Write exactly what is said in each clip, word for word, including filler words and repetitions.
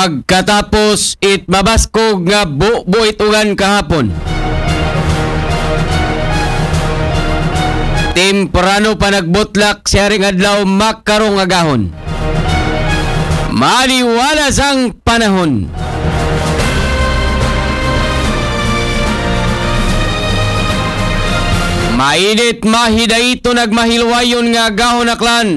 Pagkatapos it mabaskog nga bubuit ugan kahapon. Temprano pa nagbutlak siya ring adlaw makarong agahon. Maliwalas ang panahon. Mainit, mahidayto, nagmahilwayon nga agahon, Aklan.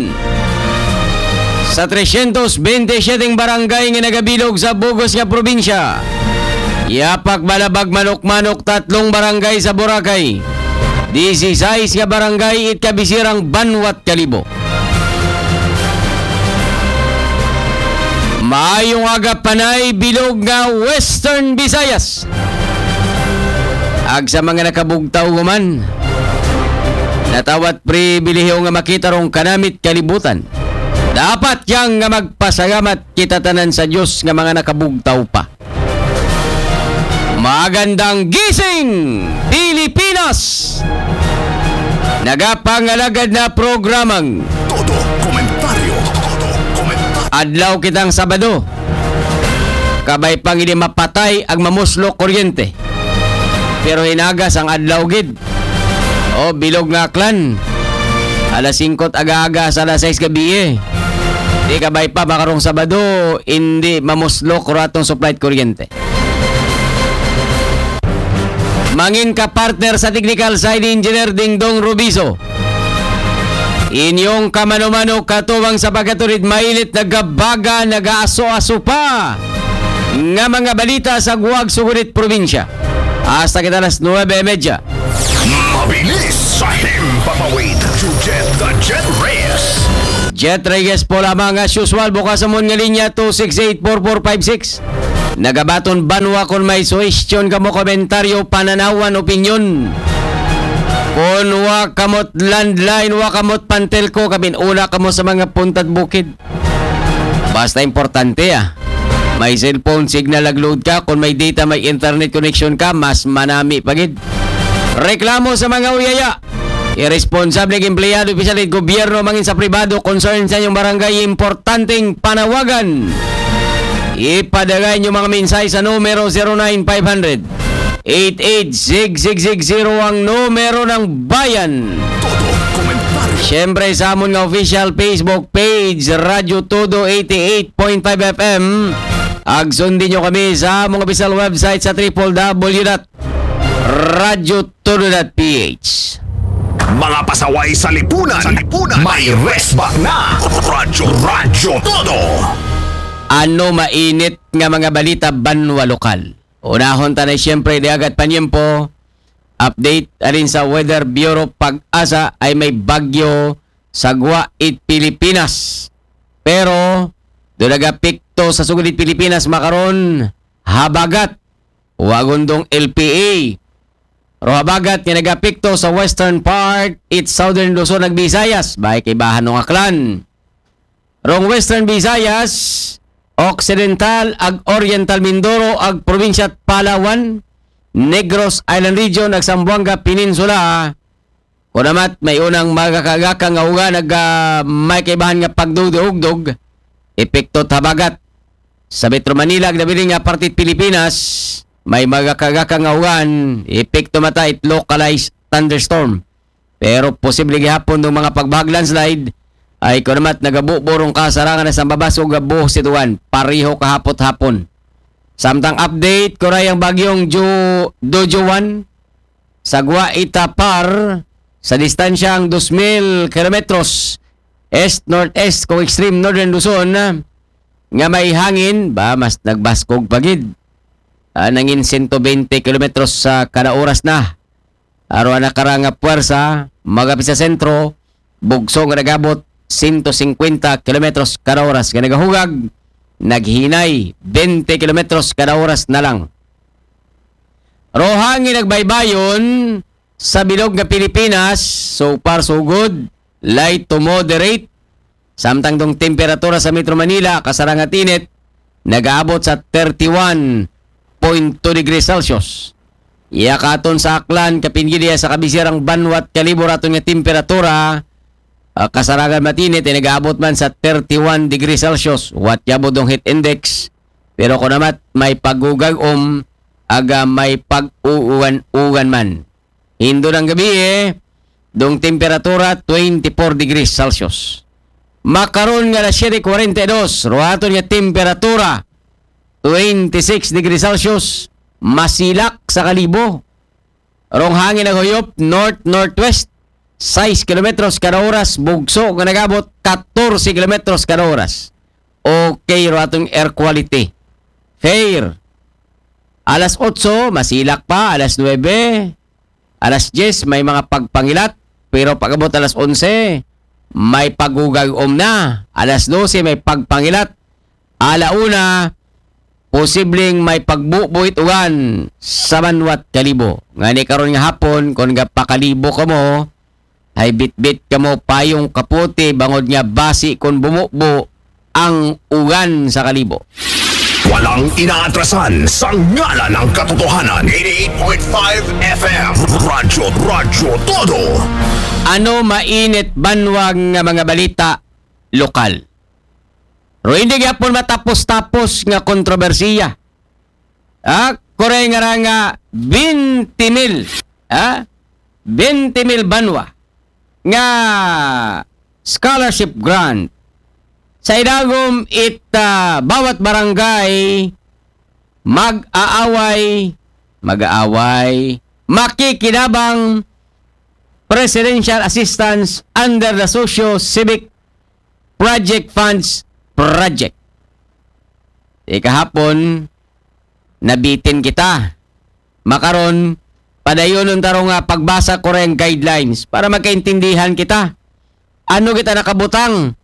Sa tresyentos bente siyete barangay nga nagabilog sa bug-os nga probinsya, yapak balabag manok-manok tatlong barangay sa Boracay. Disisais nga barangay it kabisirang banwat Kalibo. Maayong aga, Panay, bilog nga Western Visayas. Ag sa mga nakabugtaw human, natawat pribilehiyo nga makita rong kanamit kalibutan. Dapat yang nga magpasalamat kita tanan sa Diyos nga mga nakabugtaw pa. Magandang gising, Pilipinas! Nagapangalagad na programang Todo komentaryo. Todo komentaryo. Adlaw kitang Sabado. Kabay pang hindi mapatay ang mamuslo kuryente. Pero hinagas ang adlaw gid. O, bilog nga Aklan. Alas singko aga-aga sa alas sais gabi eh. Di kabay pa, makarong Sabado, hindi mamuslok ratong supply kuryente. Mangin ka partner sa technical side, Engineer Dingdong Rubiso. Inyong kamano-mano katubang sa pagkaturid, mainit, nagabaga, nagaaso-aso pa nga mga balita sa guwag sugunit probinsya. Hasta kita alas nuebe y media. Mabilis sa himpapawid, Jujet the Jet Reyes. Jet Reyes po lamang as usual, bukas amon nga linya two six eight four four five six. Nagabaton banwa kon may suhestyon kamo, komentaryo, pananawan, opinyon. Kon wa kamot landline, wa kamot pantelko, kabin una kamo sa mga puntad bukid. Basta importante ah. May cellphone signal nag-load ka, kung may data, may internet connection ka, mas manami pa gid. Reklamo sa mga uyaya. Irresponsable ng empleyado, opisyal ng gobyerno, mangin sa pribado, concern sa inyong barangay, importanteng panawagan. Ipadagay niyo mga mensahe sa numero zero nine five hundred eight eight six six six zero, ang numero ng bayan. Todo komentaryo. Siyempre, sa amon nga official Facebook page, Radyo Todo eighty-eight point five F M. Ag sundin nyo kami sa among official website sa triple W dot radyo todo dot P H. Mga pasaway sa lipunan, sa lipunan, may resback na. Radyo, Radyo Todo. Ano mainit nga mga balita banwa lokal? Unahon ta na siyempre di agad panyempo. Update alin sa Weather Bureau, PAGASA, ay may bagyo sa guwa it Pilipinas. Pero do nagapekto sa sugod it Pilipinas makaron, habagat, wa gundong L P A. Ro habagat nga nagapekto sa western part it southern Luzon ag Visayas, bay kay bahan ng Aklan. Rong Western Visayas, Occidental ag Oriental Mindoro ag probinsya Palawan, Negros Island Region ag Zamboanga Peninsula. Kunamat, may unang magakagaka nga ugan ag, ah, may kaibahan nga pagdugdog-ugdog, epekto habagat. Sa Metro Manila ag nabiling nga parte Pilipinas, may magakagaka nga ugan, epekto mata it localized thunderstorm. Pero posible gihapon ng mga pagbahag landslide ay kunamat nagabuburong kasarangan na sa babas o gabuhos ituan. Pareho kahapot hapon. Samtang update, kuray ang bagyong Ju-, Dojuan sa Guaita Par sa distansyang dos mil kilometros east-northeast kung extreme northern Luzon, nga may hangin, ba, mas nagbaskog pagid. Ah, nangin sento bente kilometros sa kada oras na. Aron ang nakarang nga puwersa, magapit sa sentro, bugso nga nagabot sento singkwenta kilometros kada oras nga nagahugag, naghinay bente kilometros kada oras na lang. Rohangin nagbaybayon sa bilog nga Pilipinas, so far so good, light to moderate. Samtang dong temperatura sa Metro Manila, kasarangat init, nagaabot sa thirty-one point two degrees Celsius. Iya katon sa Aklan, kapin gid iya sa kabisirang banwat Kalibo raton nga temperatura, ah, kasarangan matinit, ay nagaabot man sa thirty-one degrees Celsius. Wat yabot dong heat index, Pero kunamat may pagugag-om, aga may pag-uuwan-uwan man. Hindo ng gabi eh, dong temperatura twenty-four degrees Celsius. Makaron nga alas siyete kwarenta y dos, ruhaton nga temperatura twenty-six degrees Celsius, masilak sa Kalibo. Rong hangin naghuyop, north-northwest, sais kilometros kada oras, bugso nga nagabot, katorse kilometros kada oras. Okay, ruhaton air quality. Fair. Alas otso, masilak pa. Alas nuwebe, alas dyes, may mga pagpangilat. Pero pag-abot alas onse, may pagugag-om na. Alas dose, may pagpangilat. Ala una, posibleng may pagbubuit ugan sa banwat Kalibo. Ngani karon nga hapon, kung ga pa Kalibo kamo, hay bitbit kamo payong kapote, bangod nga basi kung bumubo ang ugan sa Kalibo. Walang inaatrasan sa ngalan ng katotohanan. Eighty-eight point five F M. Radyo, Radyo Todo. Ano mainit banwa nga mga balita lokal? Pero hindi gyapon matapos-tapos nga kontrobersiya. Ah, kuray nga ra nga twenty mil, ah, twenty mil banwa nga scholarship grant sa idagom it, ah, bawat barangay mag-aaway, mag-aaway, makikinabang Presidential Assistance under the Socio Civic Project Funds Project. Ikahapon, nabitin kita. Makaron, padayonon ta ro nga pagbasa ko rin guidelines para magkaintindihan kita. Ano kita nakabutang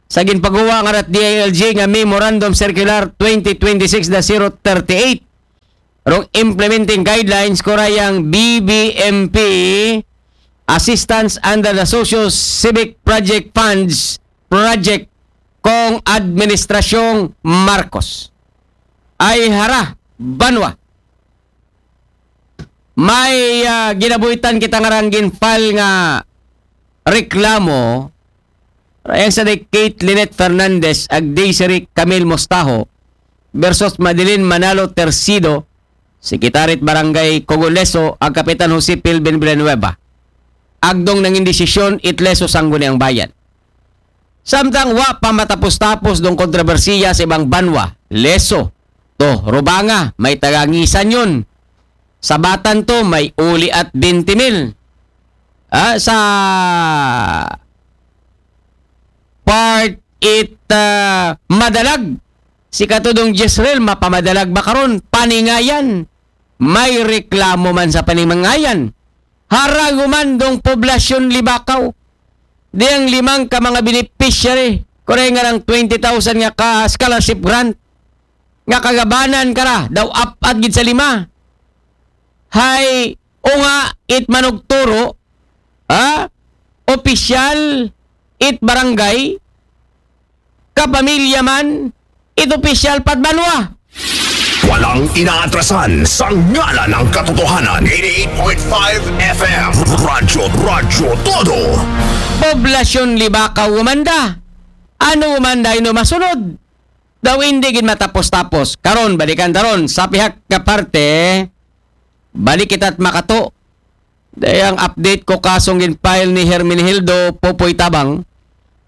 sa ginpagawa nga rat D I L G nga Memorandum Circular twenty twenty-six dash zero thirty-eight. Rong implementing guidelines ko rayang B B M P assistance under the Socio Civic Project Funds Project kong Administrasyong Marcos. Ay hara, banwa. May, ah, ginabuhitan kita nga rang ginfile nga reklamo, rayang sa ni Kate Lynette Fernandez ag Desiree Camille Mostajo versus Madeline Manalo Tercido, Sekretarya it Barangay Cogoleso, ag Kapitan Jose Pilvin Villanueva. Agdong nangin desisyon it Leso Sangguniang Bayan. Samtang wa pa matapos-tapos dong kontrobersiya sa ibang banwa, Leso, to, Rubanga, may tagangisan yun. Sabatan to, may uli at twenty mil. Ah, sa part it, ah, Madalag, si Katudong Jezreel, mapamadalag ba karon? Paningayan. May reklamo man sa Paningayan. Haraguman dong poblasyon Libakaw. Di ang limang ka mga beneficiary, kuray nga ng twenty thousand nga ka scholarship grant, nga kagabanan ka ra, daw apat gid sa lima. Hay, o nga, it manugturo, ha? Opisyal, it barangay, kapamilya man, it opisyal pat banwa. Walang inaatrasan sa ngalan ng katotohanan. Eighty-eight point five F M. Radyo, Radyo Todo. Poblasyon Libakaw umanda. Ano umanda ino masunod? Daw hindi gid matapos-tapos. Karon, balikan taron. Sa pihak nga parte, balik kita't makato. Dayang update ko kasong ginfile ni Hermenegildo Popoy Tabang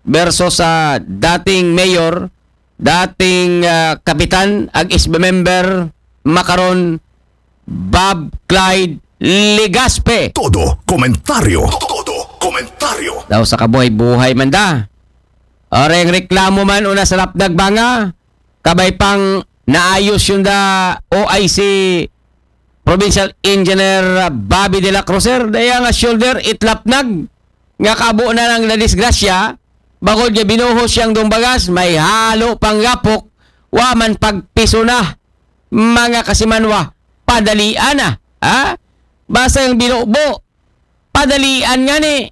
versus sa dating mayor, dating, ah, kapitan, ag S B member, makaron, Bob Clyde Legaspi. Todo komentaryo. Todo komentaryo. Daw sa kabuhay-buhay man da. Oreng reklamo man una sa lapdag banga, kabay pang naayos yun da O I C Provincial Engineer Bobby de la Cruz, sir, daya nga shoulder itlapnag nga kabo na lang na disgrasya, bagod nga binuhos siyang dumbagas, may halo pang gapok, wa man pagpiso na, mga kasimanwa, padalian na, ha? Basta yung binubo, padalian nga ni.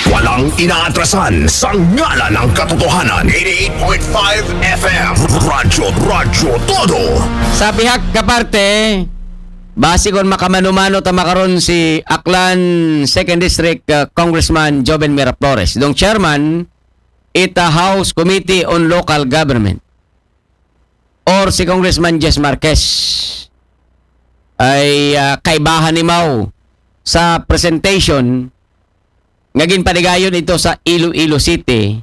Walang inaatrasan sa ngalan ng katotohanan. Eighty-eight point five F M. Radyo, Radyo Todo. Sa pihak nga parte, base kon makamano-mano ta makaron si Aklan Second District, uh, Congressman Joven Miraflores, dong chairman ita House Committee on Local Government. or si Congressman Jess Marquez ay ah, kaibahan ni Mau sa presentation nga ginpadigayon ito sa Iloilo City,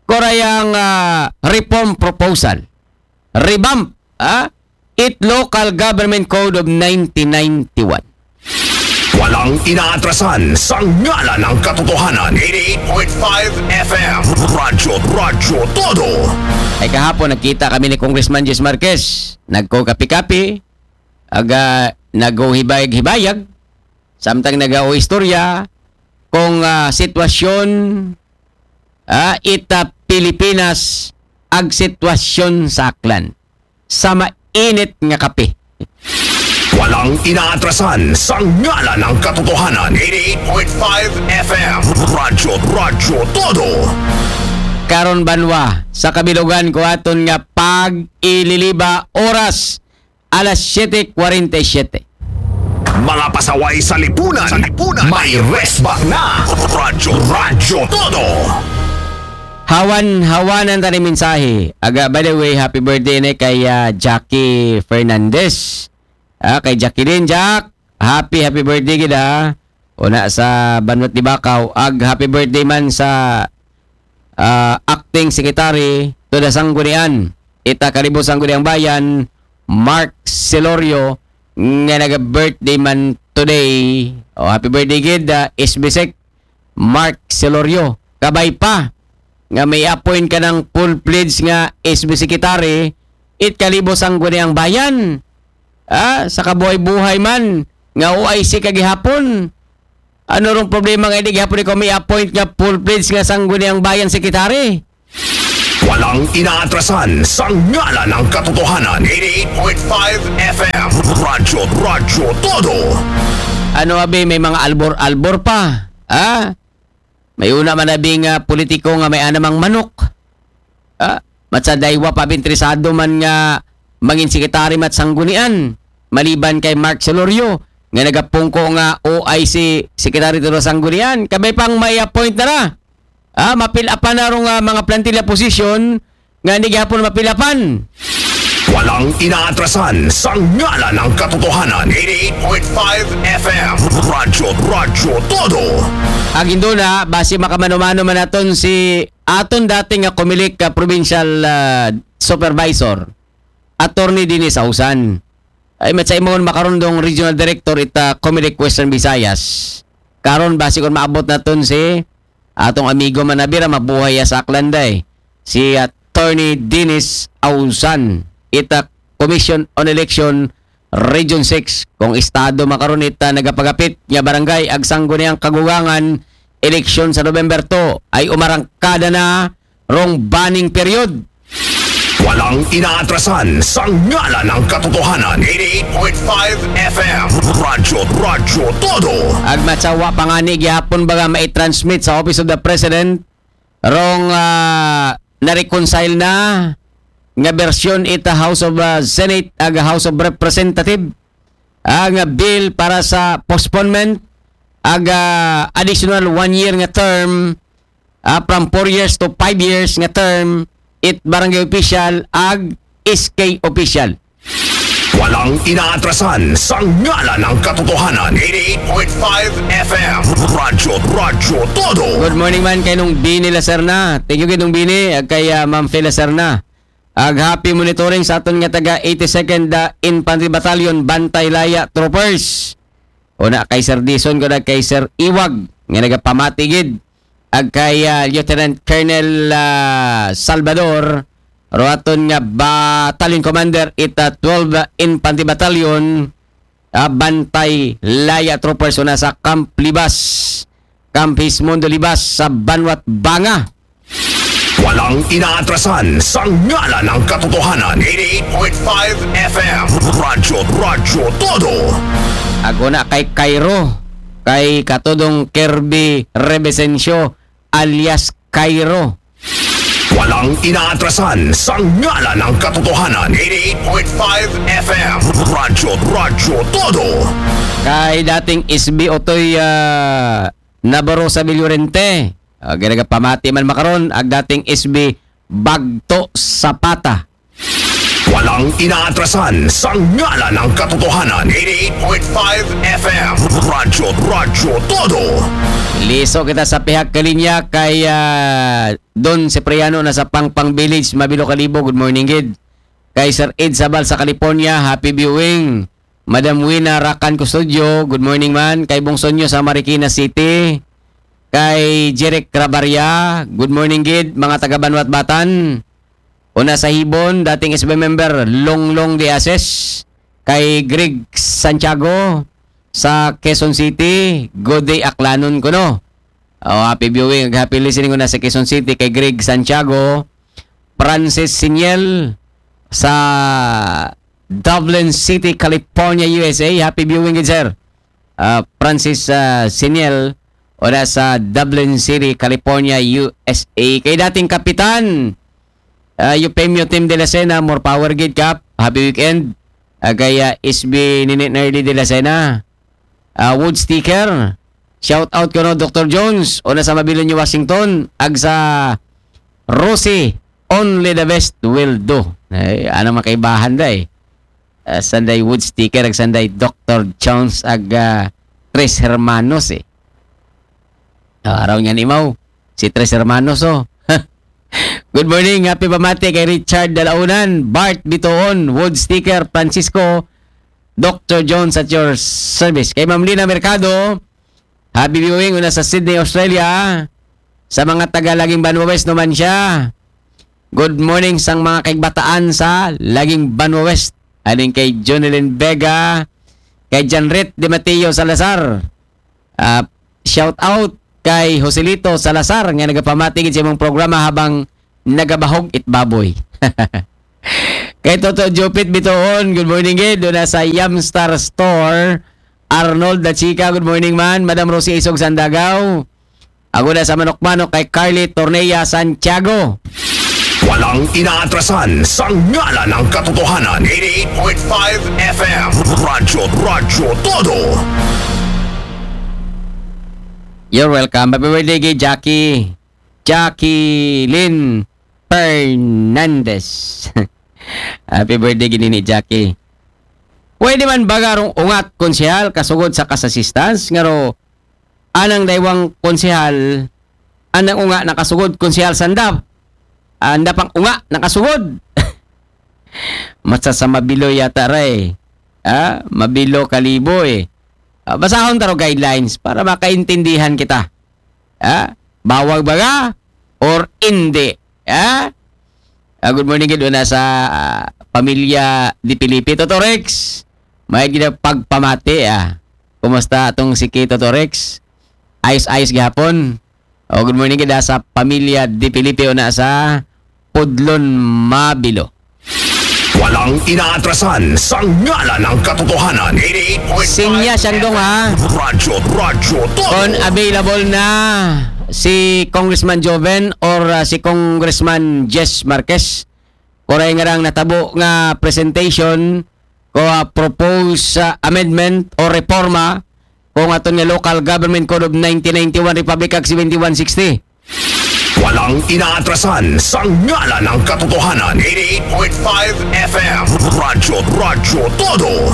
korayang ah, reform proposal, revamp, ah, it Local Government Code of nineteen ninety-one. Walang inaatrasan sa ngalan ng katotohanan. Eighty-eight point five F M. Radyo, Radyo Todo. Ay kahapon nagkita kami ni Congressman Jess Marquez. Nagko-kapi-kapi, aga nagko-hibayag-hibayag, samtang nagko-istorya kung ah, sitwasyon ah, ita Pilipinas ag sitwasyon sa Aklan. Sa mainit nga kape. Walang inaatrasan sa ngalan ng katotohanan. Eighty-eight point five F M. Radyo, Radyo Todo. Karon banwa, sa kabilugan ko aton nga pag-ililiba oras alas siyete kwarenta y siyete. Mga pasaway sa lipunan. Sa lipunan. May rest back na. Radyo, Radyo Todo. Hawan-hawanan ta ni mensahe. Aga, by the way, happy birthday ni kay ah, Jackie Fernandez. Ah, kay Jacqueline, Jack, happy, happy birthday gid ha. Una sa Banwat Dibakaw, ag happy birthday man sa ah, acting secretary to the Sanggunian, ita Kalibo Sangguniang Bayan, Mark Celorio, nga naga-birthday man today. O, happy birthday gid, ah, S B Sec Mark Celorio. Kabay pa nga may appoint ka ng full-fledged nga S B secretary, it Kalibo Sangguniang Bayan. Ah, sa kabuhay-buhay man nga O I C ka gihapon. Ano rong problema nga hindi gihapon ikaw may appoint nga full-fledged nga Sangguniang Bayan secretary? Walang inaatrasan sa ngalan ng katotohanan. Eighty-eight point five F M. Radyo, Radyo Todo. Ano abi, may mga albor-albor pa. Ah? May una man abi nga politiko nga may anamang manok. Ah? Matsa daywa pa abi interesado man nga mangin sekretary mat Sanggunian. Maliban kay Mark Celorio nga nagapungko nga O I C secretary to Sanggunian. Kabay pang may appoint na ra. Ah, mapilapan na rong ah, mga plantilla position nga hindi gihapon mapilapan. Walang inaatrasan sa ngalan ng katotohanan. Eighty-eight point five F M. Radyo, Radyo Todo. Ang Induna, base makamano-mano man naton si aton dating nga Comelec ah, provincial ah, supervisor, Attorney Dennis Ausan. Ay, matsa imong makarundong regional director ita Comelec Western Visayas. Karon, base kung maabot naton si atong amigo man abi ra, mabuhay ya sa Aklanday. Si Attorney Dennis Ausan, ita Commission on Election Region six. Kung estado makaron ita nagapagapit nga barangay ag Sangguniang Kagugangan, eleksyon sa November two ay umarangkada na rong banning period. Walang inaatrasan sa ngalan ng katotohanan. Eighty-eight point five F M. Radyo, Radyo Todo. Ag matsawa pa nga ni gihapon ba nga mai-transmit sa Office of the President rong ah, na-reconcile na nga bersyon ita House of ah, Senate ag House of Representative ah, nga bill para sa postponement ag ah, additional one year nga term ah, from four years to five years nga term it barangay official ag S K official. Walang inaatrasan sa ngalan ng katotohanan. Eighty-eight point five F M. Radyo, Radyo Todo. Good morning man kay Nung Bini Lacerna. Thank you kay Nung Bini, ag kay ah, Ma'am Fe Lacerna. Ag happy monitoring sa aton nga taga eighty-second ah, Infantry Battalion, Bantay Laya Troopers. Una kay Sir Dison, kuna kay Sir Iwag, nga nagapamati gid. Ag kay ah, Lieutenant Colonel ah, Salvador, ro aton nga Battalion Commander ita twelve Infantry Battalion, ah, Bantay Laya Troopers, una sa Camp Libas, Camp Hismundo Libas sa Banwat Banga. Walang inaatrasan sa ngalan ng katotohanan. Eighty-eight point five F M. Radyo, Radyo Todo. Ag una kay Cairo, kay Katudong Kirby Rebesencio alias Cairo. Walang inaatrasan sa ngalan ng katotohanan. Eighty-eight point five F M. Radyo, Radyo Todo. Kay dating S B Otoy ah, Navarro sa Villorente. Ah, ginagapamati man makaron ag dating S B Bagto Zapata. Walang Ang inaatrasan sa ngalan ng katotohanan. Eighty-eight point five F M. Radyo, Radyo Todo. Liso kita sa pihak kalinya kay ah, Don Cipriano na sa Pangpang Village, Mabilo Kalibo. Good morning, gid. Kay Sir Ed Sabal sa California, happy viewing. Madam Wina Rakan Custodio, good morning man. Kay Bong Sonyo sa Marikina City. Kay Jeric Rabaria, good morning, gid. Mga taga Banwat Batan. Una sa Hibon, dating S B member, Longlong de Ases. Kay Greg Santiago sa Quezon City, good day, Aklanon kuno. Oh, happy viewing, happy listening una sa Quezon City kay Greg Santiago. Francis Siniel sa Dublin City, California, U S A. Happy viewing, good sir. Ah, Francis ah, Siniel, una sa Dublin City, California, U S A. Kay dating kapitan, ah, Eufemio Tim de la Sena, more power, gid, Kap. Happy weekend. Ah, kay ah, S B Ninit Nerly de la Sena. Ah, Wood Sticker. Shout out kuno, Doctor Jones. Una sa Mabilo, New Washington. Ag sa Rosie, only the best will do. Ay, ano makaibahan da eh. Ah, sanday Wood Sticker, ag sanday Doctor Jones, ag ah, Tres Hermanos eh. Ah, araw niya ni Mau, si Tres Hermanos oh. Good morning, happy pamati kay Richard Dalaunan, Bart Bitoon, Wood Sticker, Francisco, Doctor Jones at your service. Kay Ma'am Lina Mercado, happy viewing una sa Sydney, Australia. Sa mga taga Laging Banwa West naman siya. Good morning sang mga kaibataan sa Laging Banwa West. Aling kay Jonelyn Vega, kay Janrit De Mateo Salazar. Ah, shout out kay Joselito Salazar nga nagapamati gid sa imong programa habang nagabahog it baboy. Kay Toto Jupit Bitoon, good morning gid. Doon na sa Yamstar Store. Arnold Da Chica, good morning man. Madam Rosie Isog Sandagaw. Ako na sa Manok-Manok kay Carly Torneya Santiago. Walang inaatrasan sa ngalan ng katotohanan. Eighty-eight point five F M. Radyo, Radyo Todo. You're welcome. Happy birthday kay Jackie. Jacqueline Fernandez. Happy birthday gini ni Jackie. Pwede man ba garong ungat konsehal kasugod sa cash assistance? Ngaro, anang daywang konsehal, anang unga nakasugod konsehal sandap. Anda pang unga nakasugod. Matsa sa Mabilo yata ray. Ah, Mabilo Kalibo eh. Ah, basahon taro guidelines para makaintindihan kita. Ah, bawal baga or hindi? Ah? Ah, good morning gid una sa ah, pamilya Di Felipe. Toto Rex, may gina pagpamati ah. Kumusta atong si Kay Toto Rex? Ayos-ayos gihapon. Oh, good morning gid ah, sa pamilya Di Felipe una sa Pudlon, Mabilo. Walang inaatrasan sa ngalan ng katotohanan. Eighty-eight point five Sinya siyang dong ha. Radyo, Radyo Todo. Kung available na si Congressman Joven or ah, si Congressman Jess Marquez, kuray nga rang natabo nga presentation ko ah, proposed ah, amendment o reforma kung aton nga Local Government Code of nineteen ninety-one, Republic Act seventy-one sixty. Walang inaatrasan sa ngalan ng katotohanan. Eighty-eight point five F M. Radyo, Radyo Todo.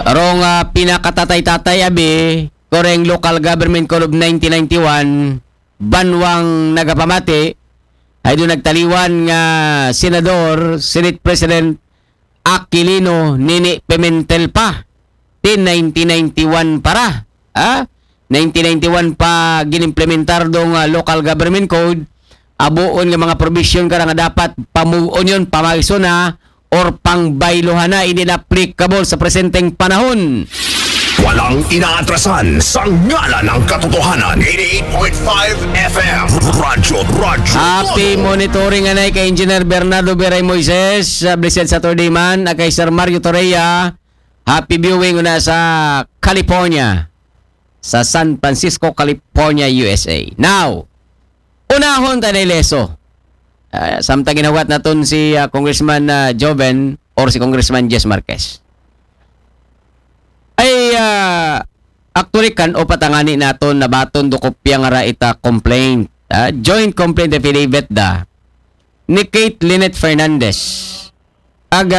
Rong ah, pinakatatay-tatay abi, koreng Local Government Code of nineteen ninety-one, banwang nagapamati, ay doon nagtaliwan nga Senador, Senate President Aquilino Nini Pimentel pa. Tin nineteen ninety-one para. Ha? nineteen ninety-one pa ginimplementar dong ah, Local Government Code, abuon nga mga provision kara nga dapat pamuon yon, pamaison na or pangbaylohan na, hindi na applicable sa presenteng panahon. Walang inaatrasan sa ngalan ng katotohanan. Eighty-eight point five F M. Radyo, Radyo Happy Todo. Monitoring anay kay Engineer Bernardo Beray Moises. Ah, blessed Saturday man. Ah, kay Sir Mario Torreya, happy viewing una sa California, sa San Francisco, California, U S A. Now, unahon ta na ileso. Ah, samtang ginahugat naton si ah, Congressman ah, Joven or si Congressman Jess Marquez. Ay, ah, actually, kan o patangani naton na baton do kopya nga ra ita complaint. Ah, joint complaint affidavit da ni Kate Lynette Fernandez. ag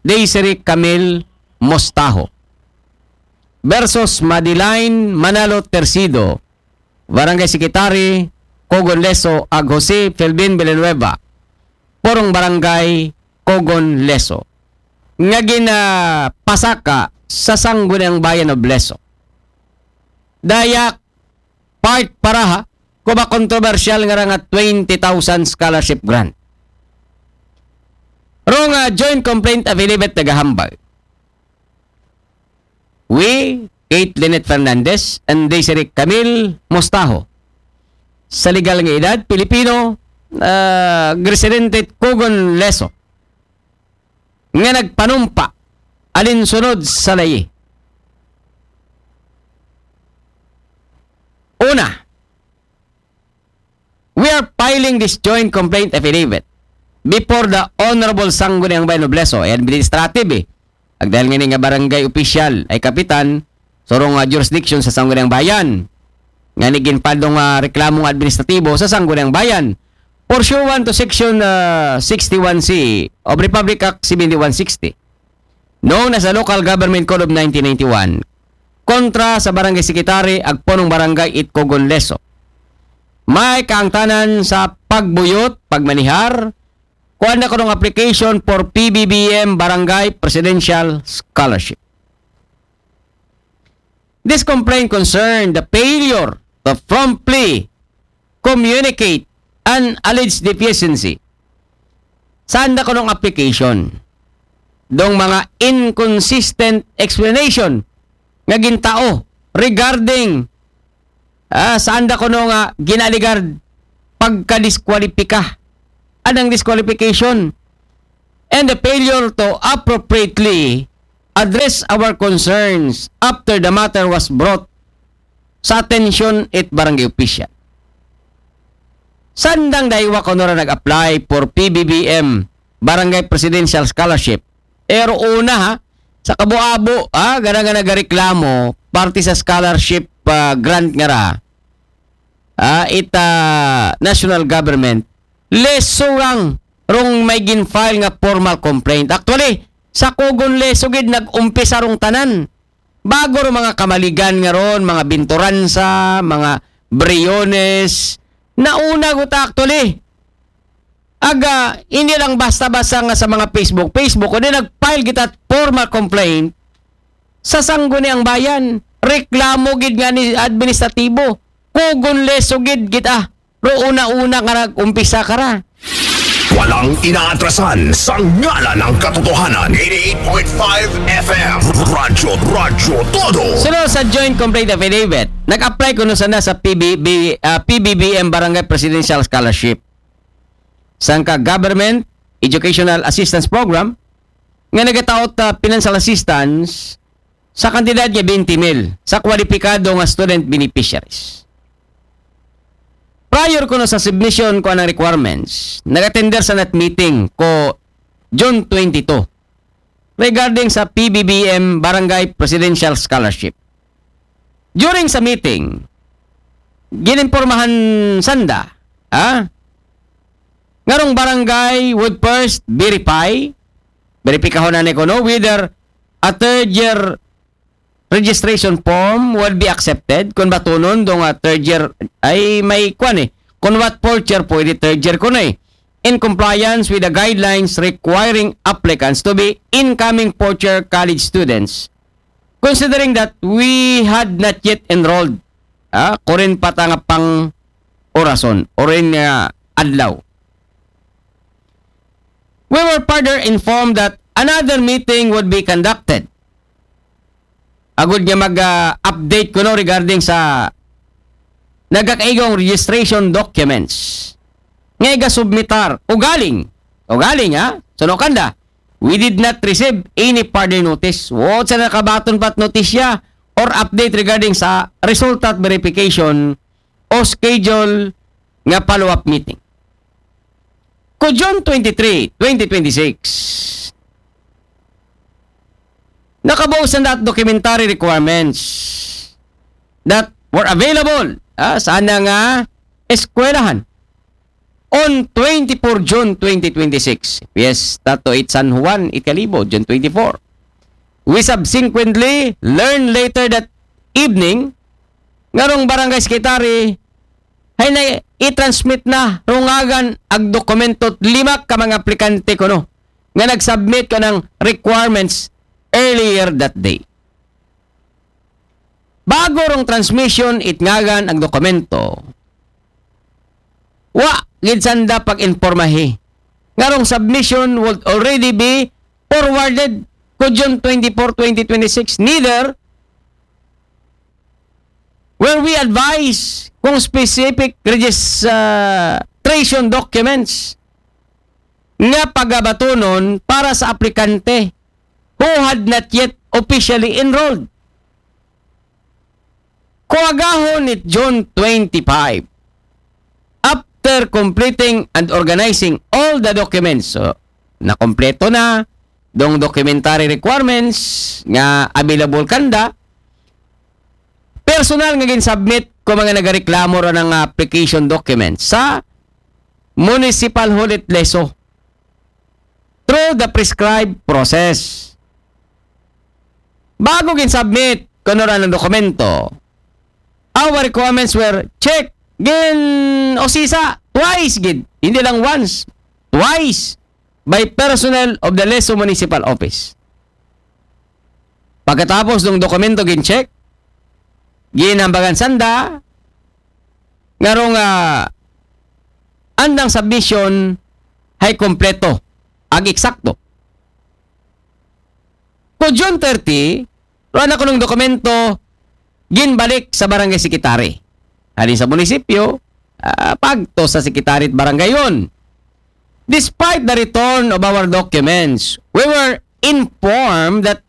Desiree Camille Mostajo versus Madeline Manalo Tercido, Barangay Secretary, Cogon Leso, ag Jose Felvin Villanueva, Purong Barangay, Cogon Leso, nga ginapasaka sa Sangguniang Bayan of Leso. Daya part para ha, kuba kontrobersyal nga ra nga twenty thousand scholarship grant. Rong, ah, joint complaint affidavit nagahambal. We, Kate Lynette Fernandez and Desiree Camille Mostajo, sa legal nga edad, Pilipino, ah, residente Cogon Leso, nga nagpanumpa alinsunod sa layi. Una, we are filing this joint complaint affidavit before the Honorable Sangguniang Bayan of Leso, ay administrative eh. Ag dahil nga ni nga barangay official ay kapitan, surong nga jurisdiction sa Sangguniang Bayan. Nga ni ginpadong nga reklamong administratibo sa Sangguniang Bayan, pursuant to Section, ah, sixty-one C of Republic Act seventy-one sixty, known as the Local Government Code of nineteen ninety-one, kontra sa Barangay Secretary ag Punong Barangay it Cogon Leso. May kaangtanan sa pagbuyot, pagmanihar, kuan na kunong application for P B B M Barangay Presidential Scholarship. This complaint concerned the failure to promptly communicate an alleged deficiency. Saan na kunong application? Dong mga inconsistent explanation nga gintao regarding, ah, saan da kuno nga ginaligard pagka-disqualifika. Anang disqualification and the failure to appropriately address our concerns after the matter was brought sa atensyon it barangay official. Sandang daywa kuno ra nag-apply for P B B M Barangay Presidential Scholarship. Pero una ha, sa kabuabo ha, gana nga nagareklamo parte sa scholarship, ah, grant nga ra, ah, ita national government, lesurang rong may gin-file nga formal complaint. Actually, sa Cogon Leso gid nag-umpisa rong tanan. Bago ro mga Camaligan nga ron, mga Binturanza, mga Briones, nauna gud actually. Aga, hindi lang basta-basta nga sa mga Facebook, Facebook, kundi nag-file kita formal complaint sa Sangguniang Bayan. Reklamo gid nga ni administratibo. Cogon Leso gid kita. Ro una-una nga nag-umpisa ka ra. Walang inaatrasan sa ngalan ng katotohanan. Eighty-eight point five F M. Radyo, Radyo Todo. Sunod sa joint complaint affidavit, nag-apply kuno sanda sa P B B, ah, P B B M Barangay Presidential Scholarship. Sangka Government Educational Assistance Program nga nagataot, ah, financial assistance sa kantidad nga twenty mil sa kwalipikado nga student beneficiaries. Prior kuno sa submission ko anang requirements, nag-attender sa nat meeting ko June twenty-two regarding sa P B B M Barangay Presidential Scholarship. During sa meeting, gininpormahan sanda, ha? Ngarong barangay would first verify, veripikahon na kuno whether a third year registration form will be accepted. Kung batunon dong, ah, third year ay may kwan eh. Kung what fourth year, pwede third year ko na eh. In compliance with the guidelines requiring applicants to be incoming fourth year college students, considering that we had not yet enrolled, ah, kurin pa ta nga pang orason, orin nga adlaw. We were further informed that another meeting would be conducted. Agud nga mag-update kuno regarding sa nagakaigong registration documents nga igasubmitar. Ugaling, ugaling ha, suno kanda, we did not receive any further notice. Wa sa nakabaton pat notisya or update regarding sa result at verification o schedule nga follow-up meeting. Ko June twenty-three, twenty twenty-six, nakabuo sa that documentary requirements that were available, ah, sa ana nga eskwelahan. on twenty-four June twenty twenty-six. Fiesta to it San Juan, it Kalibo, June twenty-four. We subsequently learned later that evening nga rong barangay secretary hay na i-transmit na rungagan ag dokumento lima ka mga aplikante kuno nga nag-submit kanang requirements earlier that day. Bago rong transmission it ngagan ag dokumento, wa gid sanda pag-impormahi nga rong submission would already be forwarded ko June twenty-four, twenty twenty-six. Neither were we advised kung specific registration documents nga pagabatunon para sa aplikante who had not yet officially enrolled. Kuagahon it June twenty-five, after completing and organizing all the documents, so, nakompleto na dong documentary requirements nga available kanda, personal nga gin-submit ko mga nagareklamo ra ng application documents sa Municipal Hall it Lezo through the prescribed process. Bago gin-submit kuno ra ng dokumento, our requirements were checked, gin-usisa twice gid, hindi lang once, twice, by personnel of the Lezo Municipal Office. Pagkatapos ng dokumento gin-check, ginhambagan sanda nga rong, ah, andang submission hay kompleto ag eksakto. Ko June thirty, rua na kunong dokumento ginbalik sa barangay secretary. Halin sa munisipyo, ah, pagto sa secretary at barangayon. Despite the return of our documents, we were informed that